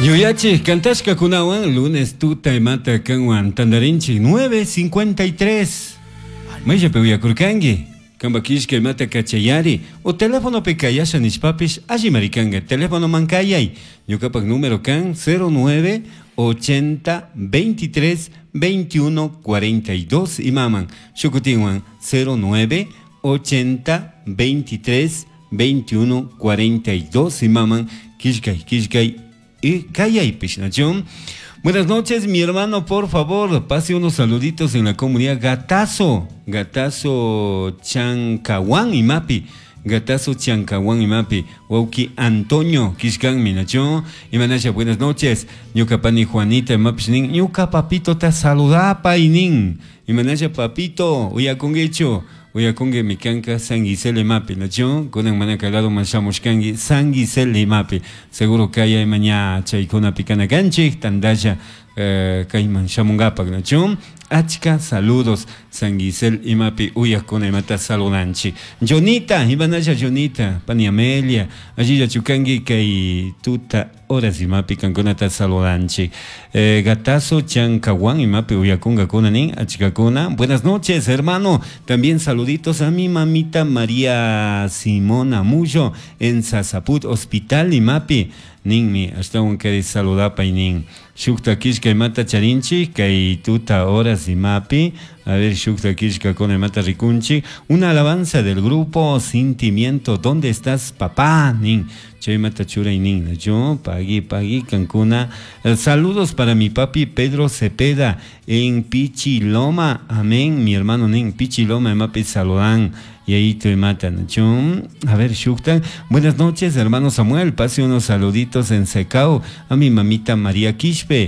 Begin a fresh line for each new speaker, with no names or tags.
Yuyachik kantashkakunawan lunes tuta imata kanwan tandarinchik 9:53. Mayllapi uyakurkanki? Kanpa killka imata kachayari o telefonopi kayasha nishpapish allimari kanka. Telefonoman kayay. Ñukapak número kan 09 80 23 21 42 imaman. Shukutinwan 09 80 23 21 42 imaman. Killkay, killkay y kayaypish, ¿no? Buenas noches, mi hermano, por favor, pase unos saluditos en la comunidad Gatazo, Gatazo Chancahuán y Mapi. Gatazo Chancahuán y Mapi, Wauki Antonio, Kishkan Minacho, y Manasha, buenas noches. Ñuka pani Juanita, Mapish nin, ñuka papito ta saludapa y nin. Y Manasha papito, uyakunguicho. Uyakungi mikanka San Gisele mapi, nacho? Kunan mana kalado mashamushkangi San Gisele mapi. Seguro kaya maña chaykuna pikana kanchik, tandalla kayman shamungapak, nacho? Achka saludos San Gisel imapi uyakuna imata saludanchik. Jonita, imanasha Jonita, pani Amelia, allilla chukangi kay tuta horas imapi kankunata saludanchik. Gatazo Chancahuán imapi uyakunga nin achkakuna. Buenas noches, hermano. También saluditos a mi mamita María Simona Mullo en Sasaput Hospital imapi. Ninmi, hasta un kari saludapa nin. Shukta kishka imata charinchi, kay tuta horas imapi. A ver, shukta kishka con imata rikunchi. Una alabanza del grupo Sentimiento. ¿Dónde estás, papá? Nin. Chaymata churay nin. Yo, pagui, pagui, Cancuna. Saludos para mi papi Pedro Cepeda en Pichiloma. Amén, mi hermano nin. Pichiloma, imapi saludan. Y ahí te matan. A ver, Shuktan. Buenas noches, hermano Samuel. Pase unos saluditos en Secao a mi mamita María Quispe.